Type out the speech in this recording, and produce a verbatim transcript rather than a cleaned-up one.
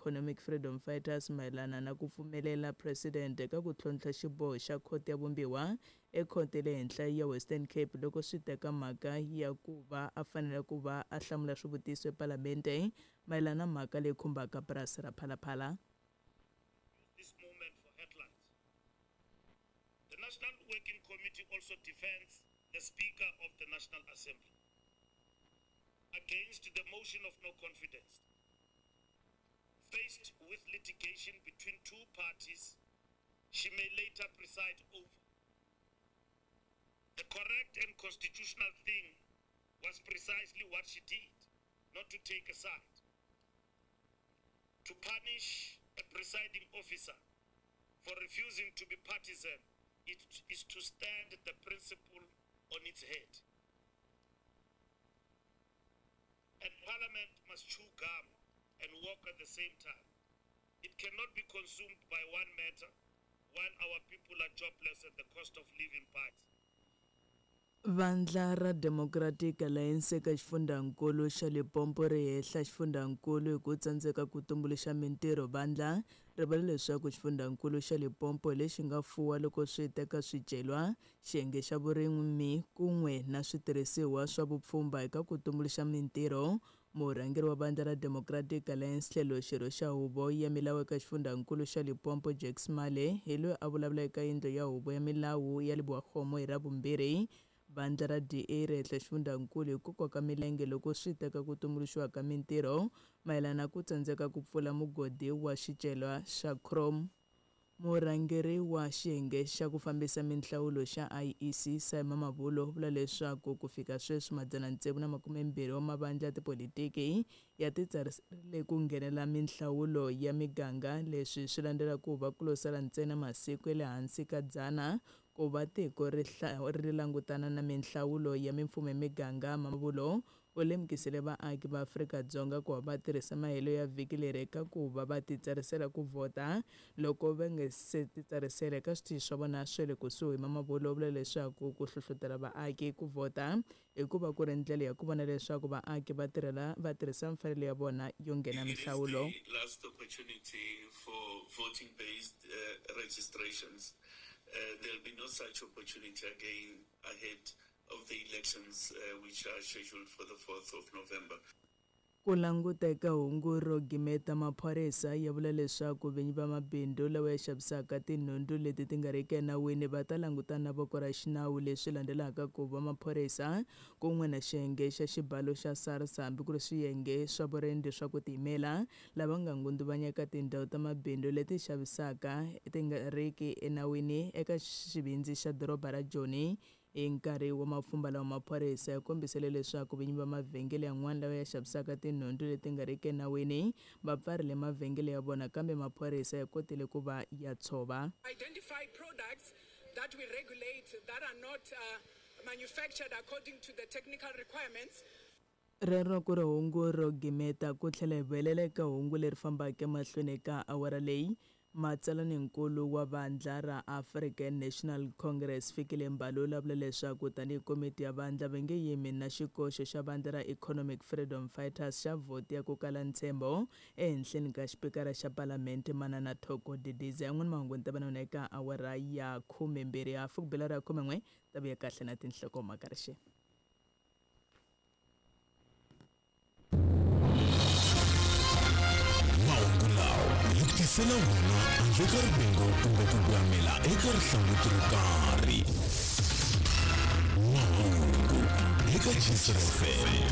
Economic Freedom Fighters mayelana na ku pfumelela president ka ku tlhontlha xiboho xa khoto ya vumbiwa ekhoto ya le henhla ya Western Cape loko swi teka mhaka ya ku va a fanele ku va a hlamula swivutiso epalamente mayelana na mhaka leyi khumbaka purasi ra Phalaphala. This moment for headlines. The National Working Committee also defends the Speaker of the National Assembly against the motion of no confidence. Faced with litigation between two parties she may later preside over. The correct and constitutional thing was precisely what she did, not to take a side. To punish a presiding officer for refusing to be partisan it is to stand the principle on its head. And Parliament must chew gum and walk at the same time. It cannot be consumed by one matter while our people are jobless at the cost of living bites. Vandla ra Democratic Alliance eka xifundzankulu xa Limpopo ri hehla xifundzankulu hi ku tsandzeka ku tumbuluxa mintirho. Vandla ri vula leswaku xifundzankulu xa Limpopo lexi nga fuwa loko swi teka swicelwa, xiyenge xa vurimi kun'we na switirhisiwa swa vupfhumba eka ku tumbuluxa mintirho. Murhangeri wa vandla ra Democratic Alliance tlhelo xirho xa huvo ya milawu eka xifundzankulu xa Limpopo Jacques Male hi loyi a vulavula eka yindlu ya huvo ya milawu ya Lebowakgomo hi Ravumbirhi. Vandla ra D A ri hehla xifundzankulu hi ku koka milenge loko swi teka ku tumbuluxiwa ka mintirho mayelana na ku tsandzeka ku pfula mugodi wa xicelwa xa chrome. Murhangeri wa xiyenge xa ku fambisa minhlawulo xa I E C Simon Mavulo u vula leswaku ku fika sweswi madzana tsevu na makumembirhi wa mavandla ya tipolitiki ya titsariserile ku nghenela minhlawulo ya miganga. Leswi swi landzela ku va ku lo sala ntsena masiku ya le hansi ka dzana ku va tiko ri ri langutana na minhlawulo ya mimfumo ya miganga. Mavulo u lemukisile vaaki va Afrika-Dzonga ku va va tirhisa mahelo ya vhiki leri eka ku va va titsarisela ku vhota loko va nga se titsarisela eka switichi swa vona swa le kusuhi. Mamabolo u vula leswaku ku hlohlotela vaaki ku vhota hikuva ku ri ndlela ya ku vona leswaku vaaki va tirhela va tirhisa mfanelo ya vona yo nghena minhlawulo. Last opportunity for voting based uh, registrations. Uh, there'll be no such opportunity again ahead of the elections uh, which are scheduled for the fourth of November. Ku languta eka hungu ro gimeta, maphorisa ya vula leswaku vinyi va mabindzu lawa ya xavisaka tinhundzu leti ti nga riki enawini va ta langutana na voko ra xinawu. Leswi landzelaka ku va maphorisa kun'we na xiyenge xa xibalo xa SARS hambi ku ri swiyenge swa vurindi swa ku tiyimela lava nga ngundzuvanyeka tindhawu ta mabindzu leti xavisaka ti nga riki enawini eka xivindzi xa doroba ra Joni. Hi nkarhi wa mapfhumba lawa maphorisa ya kombisile leswaku vinyi va mavhengele yan'wana lawa ya xavisaka tinhundzu leti nga riki enawini va pfarile mavhengele ya vona, kambe maphorisa ya kotile ku va ya tshova. Identify products that we regulate that are not uh, manufactured according to the technical requirements. Rero ku ri hungu ro gimeta ku tlhela hi vuyelela eka hungu leri fambaka emahlweni eka awara leyi. Matsalaninkulu wa vandla ra African National Congress Fikile Mbalula vula leswaku tanihi komiti ya vandla va nge yimi na xikoxo xa vandla ra Economic Freedom Fighters xa vhoti ya ku kala ntshembo ehenhleni ka xipikara xa palamende Manana Thoko Didiza. Yan'wana mahungu ni ta va na wona eka awara ya khumembirhi hafu ku bela ra khumen'we ta vuya kahle na tinhlokomhaka rixe. Tisela wona handle ka rivengo kumbe ku gwamela eka rihlanguti ro karhi. Mahungu eka Gcis F M.